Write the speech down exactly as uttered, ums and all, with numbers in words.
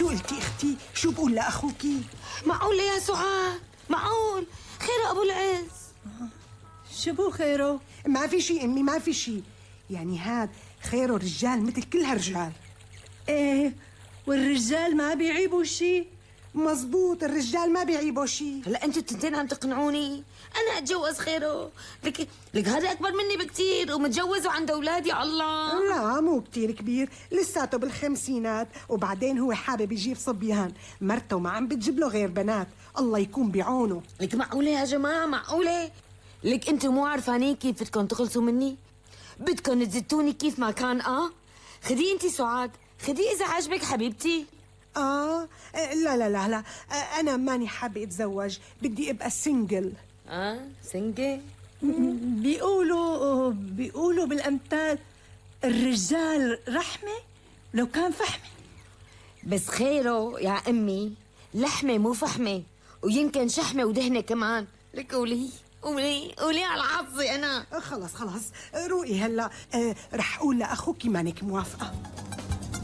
شو قلتي اختي؟ شو بقول لاخوكي؟ معقول يا سعاد؟ معقول؟ خير ابو العز؟ شو بو خيره؟ ما في شي امي، ما في شي. يعني هاد خيره رجال مثل كل هالرجال. ايه والرجال ما بيعيبوا شي. مزبوط، الرجال ما بيعيبوا شي. هلا انتوا التنتين عم تقنعوني انا اتجوز خيره. لك لك هذا اكبر مني بكتير ومتجوز وعنده اولاد. يا الله. لا مو كتير كبير، لساته بالخمسينات، وبعدين هو حابب يجيب صبيان، مرته ما عم بتجيب له غير بنات، الله يكون بعونه. لك معقوله يا جماعه؟ معقوله؟ لك انتوا مو عارفانين كيف بدكم تخلصوا مني؟ بدكم تزتوني كيف ما كان. اه خدي انت سعاد، خدي اذا عجبك حبيبتي. آه لا لا لا لا، أنا ماني حابة أتزوج، بدي أبقى سنجل. اه سنجل؟ بيقولوا بيقولوا بالأمثال الرجال رحمة لو كان فحمة. بس خيره يا أمي لحمة مو فحمة، ويمكن شحمة ودهنة كمان. لك قولي قولي قولي على حظي أنا. خلص خلص روقي هلا. آه رح أقول لأخوكي مانك موافقة.